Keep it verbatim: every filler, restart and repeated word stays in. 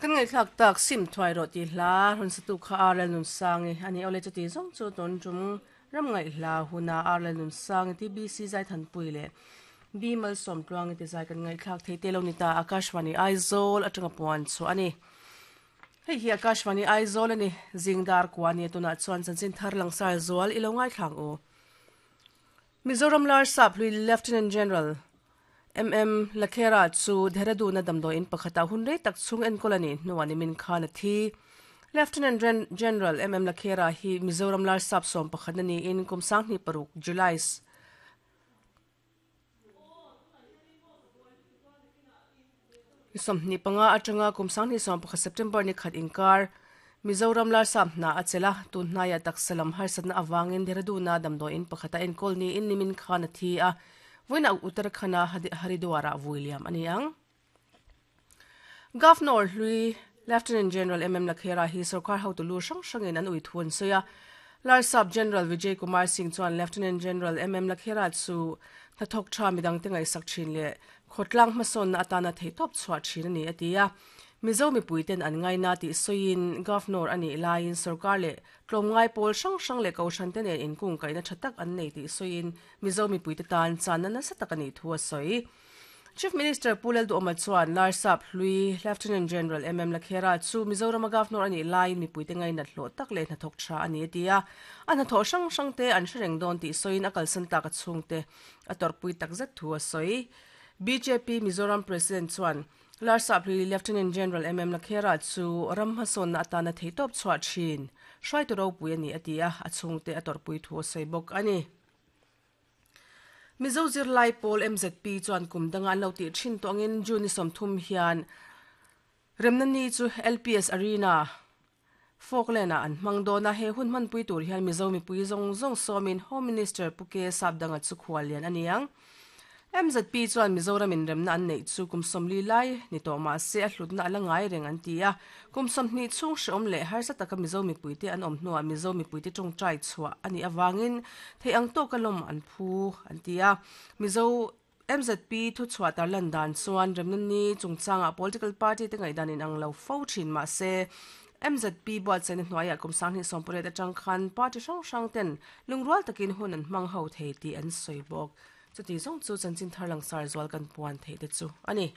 Kan ngai thlak tak sim thuai ro ti hla run satu kha arel nun sangi ani ole chu ti zong chu ton tum ram ngai hla huna arel nun sangi T B C zai than pui le bimal som tluang ti zai kan ngai thlak thei te lo ni ta Akashvani Aizawl atanga puan chu ani. Hei hi Akashvani Aizawl ani zingdar kwani tuna chuan chanchin thar langsar zual ilo ngai thlang o. Mizoram Lar Sap Hlui Lieutenant General M M Lakhera chu Dehradun damdo in pakhata hunrei tak chung en kolani nuani min khan thi. Lieutenant General M M Lakhera hi Mizoram Lar Sap som pakhat ni in kumsang ni paruk July som ni panga atanga kumsang ni som pakhat September ni khat inkar Mizoram Lar Sap na achela tun hnaya taksalam harsatna awangin Dehradun damdo in pakhata en kolni in nimin khan thi a voina Uttarakhand Haridwara William aniang. Governor Hlui Lieutenant General M M Lakhera hi sarkar hotulu sang sangin an uithun soya Lar Sap General Vijay Kumar Singh chuan Lieutenant General M M Lakhera chu thathok tha midang te ngai sak thin le khotlang hmasawn na atana theitop chhuah thin ani atia. Mizo mi puiten an ngai na ti soin governor ani lain sarkar le tlomngai pol sang sang le koshan te nen inkung kaina thatak an nei ti soin Mizo mi puite tan chan na sa tak ani thua soi. Chief Minister Pulel Du Oma chuan Lar Sap Hlui Lieutenant General M M Lakhera chu Mizoram governor ani lain mi puite ngai na hlo tak le na thok tha ani atia. An tho sang sang te an hreng don ti soin akal san tak chung te ator pui tak zet thua soi. B J P Mizoram President chuan Lar Sap Hlui Lieutenant General M M Lakhera chu ram hmasawn na atana theitop chhuah thin hruai tu ropui ani atia a chhungte a torpui thu a sawi bawk ani. Mizo Zirlai Pawl M Z P chuan kum danga an lo tih thin tawngin June ni sawmthum hian remna ni chu L P S Arena Falkland ah an hmang dawn a he hun hmanpui tur hian Mizo mipui zawng zawng sawmin Home Minister Puke Sapdanga chu khual lian aniang. M Z P chuan Mizoram in remna an nei chu kum sawmli lai ni tawh mah se a hlutna ala ngai reng an ti a kum sawmhnih chhung hreawm leh harsa taka Mizo mipuite an awm hnuah Mizo mipuite tawngtai chhuah ani awangin thei ang tawk a lawm an phu an ti a. Mizo M Z P thu chhuah tar lan dan chuan remna ni chungchanga political party te ngaihdan in ang lo fo thin mah se M Z P buat chen hnuaiah kum sanghnih sawmpariat atang khan party hrang hrang ten lungrual takin hun an hmang ho thei tih an sawi bawk. Chuti zong chu chanchin thar langsar zual kan puan thei te chu ani.